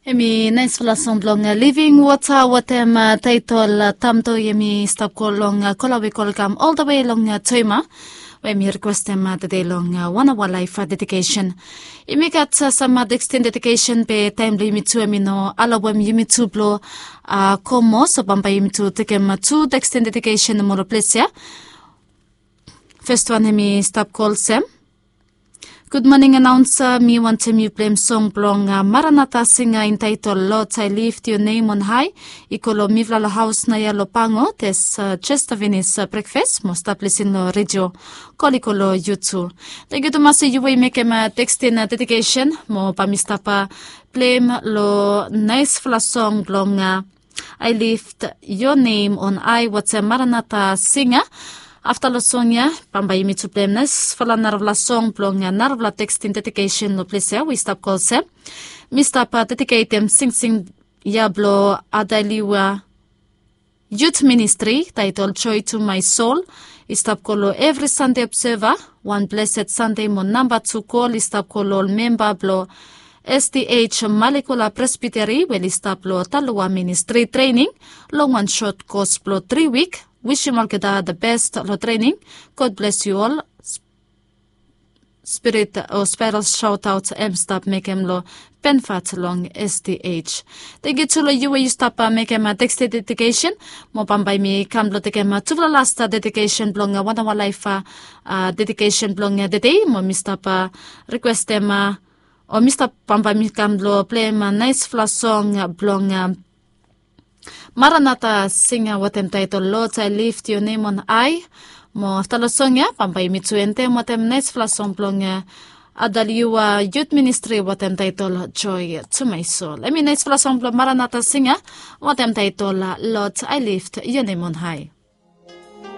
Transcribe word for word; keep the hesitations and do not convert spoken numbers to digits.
Em i naispela song blong living wota watem taitol tamto em i stap go long kolawe kolkam oldawe long toima, we em i rikwestem tede long wan awa laif dedikesen. Yumi gat sam tekstin dedikesen be taim blong yumi tu em i no alawem yumi tu blong komo, so bambae yumi tu tekem tu tekstin dedikesen mo long ples ya. Fes wan em i stap go olsem. Gud moning anaunsa, mi wantem yu pleim song blong maranata singa intaitol lot ai lift yu nem on hai. I go long mifala long haus na ya long pango tes, jesta finis brekfes mo stap lisin long redio. Kol i go long yu tu. Tangkiu tumas yu we i mekem tekstin dedikesen mo bae mi stap pleim long naisfala song blong ai lift yo nem on ai watem maranata singa. Afta long song ya bambae yumi tu pleim naisfala narafala song blong narafala tekstin dedikesen long ples ya we i stap go olsem. Mi stap dediketem singsing ya blong adaliwa yut ministri taitol joe to mai sol. I stap go long evri sande obseva. Wan blesed sande mo namba tu gol i stap go long ol memba blong sdh malikola presbiteri we oli stap long talowa ministri trening long wan sot kos blong tri wik. Wisim olgeta the best long trening. God bless yu ol. Spirit o spairal shotaot em stap mekem long benfat long sdh. Tangkiu tu long yu we yu stap mekem tekstin dedikesen. Mo bambae mi kam blong tekem tufala lasta dedikesen blong wan awa laif dedikesen blong tede mo mi stap rikwestem o mi stap bambae mi kam blong pleim naisfala song blong maranata singa watem taitol lot ai lift yu nem on ai. Mo afta long song ya bambae yumi tu entem watem naisfala song blong adaliwa yut ministri watem taitol joe to mai sol em i naisfala song blong maranata singa watem taitol lot ai lift yu nem on ai.